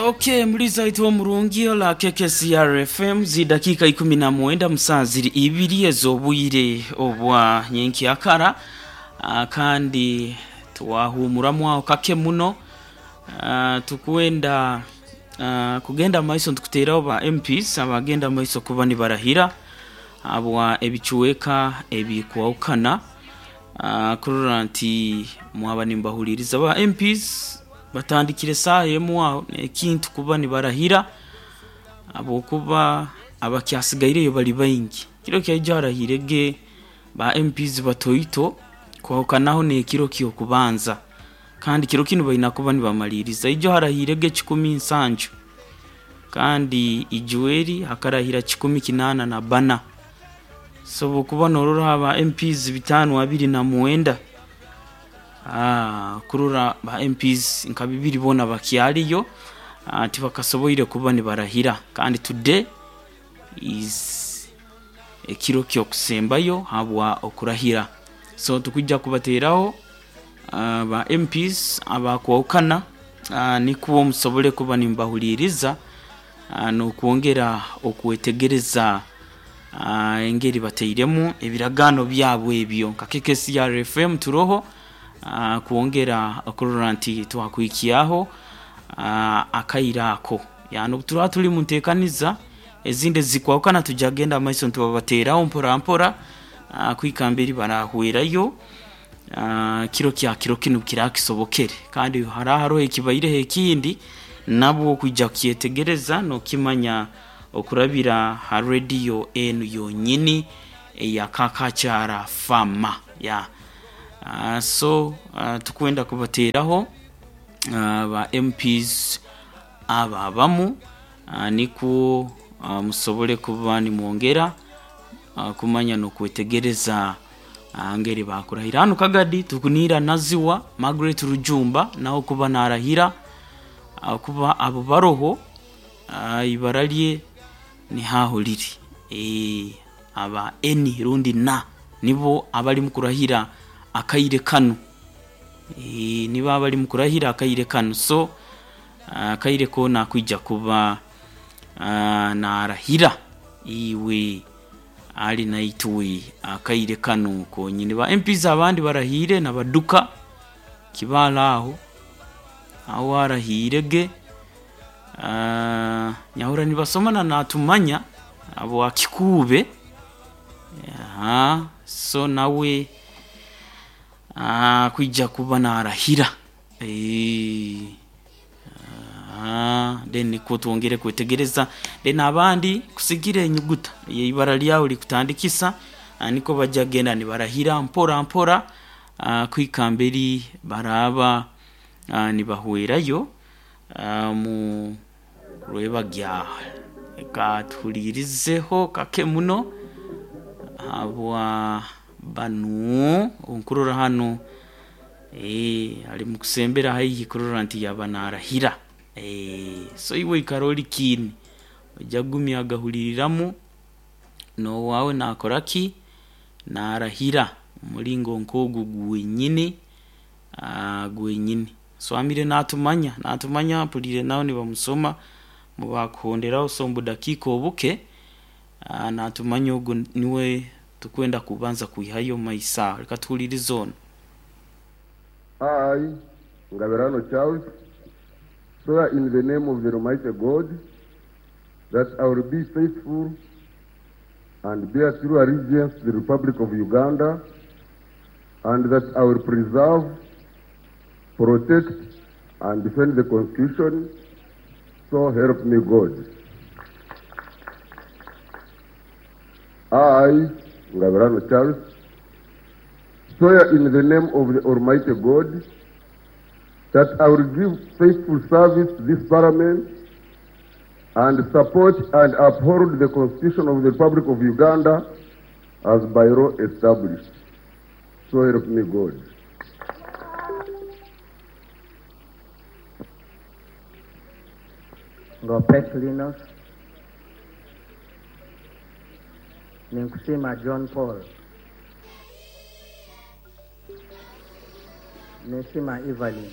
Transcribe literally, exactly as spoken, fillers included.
Okay, muliza itu omurungi ola K K C R F M, zidakika ikumi na mwenda musaa ziri ibiri ez'obwire obwa nyenkyakara. uh, kandi twahumuramu aho kake muno. uh, tukwenda uh, kugenda maiso ntukuteraho ba M Ps abagenda maiso kuba nibarahira abwa ebicuweka ebikwahukana, uh, kurora nti mwaba nimbahuliriza. Ba M Ps batandikire saaha emu aho ekintu kuba nibarahira, habwokuba abakyasigaireyo bali baingi. Kiro kyaija harahirege ba M Ps batoito kwahukanaho n'ekiro kyokubanza, kandi kiro kinu baina kuba nibamaliriza. Ijo harahirege kikumi nsanju, kandi ijweri hakarahira kikumi kinaana na bana. So bwokuba norora aba M Ps bitaano abiri na mwenda, ah, kurora ba M Ps nka bibiri boona bakyaliyo, ah, tibakasoboire kuba nibarahira, kandi today is ekiro kyokusembayo habwa okurahira. So tukujja kubateraho uh, ba M Ps abakwahukana, uh, nikwo musobole kuba nimbahuliriza uh, n'okwongera okwetegereza uh, engeri batairemu ebiragaano byabo ebyo. Nka K K C R F M turoho uh, kwongera okurora nti twakuhikyaho uh, akaire ako, yani obu turaba tuli munteekaniza ezindi ezikwahukana, tujja kugenda maiso nitubabateraho mpora mpora uh, kuhika mberi barahwerayo. uh, kiro kya kiro kinu kirakisobokere, kandi hara haroho ekibaireho ekindi nabwo kwija kukyetegereza n'okimanya okurabira ha rediyo enu yonyini eya Kakakyara Fama ya. uh, so uh, tukwenda kubateraho uh, ba M Ps aba abamu, uh, nikwo uh, musobole kuba nimwongera uh, kumanya n'okwetegereza uh, ngeri bakurahira. Hanu Kagadi tukuniira Naziwa Margaret Rujumba naho kuba narahira, uh, kuba abo baroho, uh, ibara lye nihaho liri e, aba eni rundi na nibo abali mukurahira akaire kanu, e, nibo abali mukurahira akaire kanu. So akaire koona akwija kuba uh, narahira iwe ali naitwe akaire kanu konyini. Ba M Ps abandi barahire nabaduka kibala aho aho arahirege, uh, nyahura nibasomana natumanya abo akikuube. Aha, so nawe uh, kwija kuba narahira e, uh, then nikwo twongere kwetegereza. Then abandi kusigira enyuguta ibara lyawe likutandikisa, uh, niko bajja genda nibarahira mpora mpora, uh, kuhika mberi baraba uh, nibahwerayo uh, mu rwebagya. Reka tuhulirizeho kake muno habwa banu nkurora hanu eh, ali mukusembera haihi kurora nti yaba narahira. eh, so iwe ikara ori kiini ojja kugumya agahuliriramu n'owaawe nakora ki narahira omulingo nk'ogu gwenyini, uh, gwenyini. So amire natumanya natumanya mpulire nawe nibamusoma mubakuhonderaho. So omu budakiika obuke uh, natumanya ogu niwe tukwenda kubanza kwihayo maiso aho. Reka tuhulirize ono. I, Ngabirano Charles, swear in the name of the Almighty God that I will be faithful and bear true allegiance to the Republic of Uganda, and that I will preserve, protect, and defend the Constitution, so help me God. I, Ngabirano Charles, swear in the name of the Almighty God that I will give faithful service to this Parliament and support and uphold the Constitution of the Republic of Uganda as by law established. So help me God. Ngopet Linus, Ninkusima John Paul, Nesima Evelyn.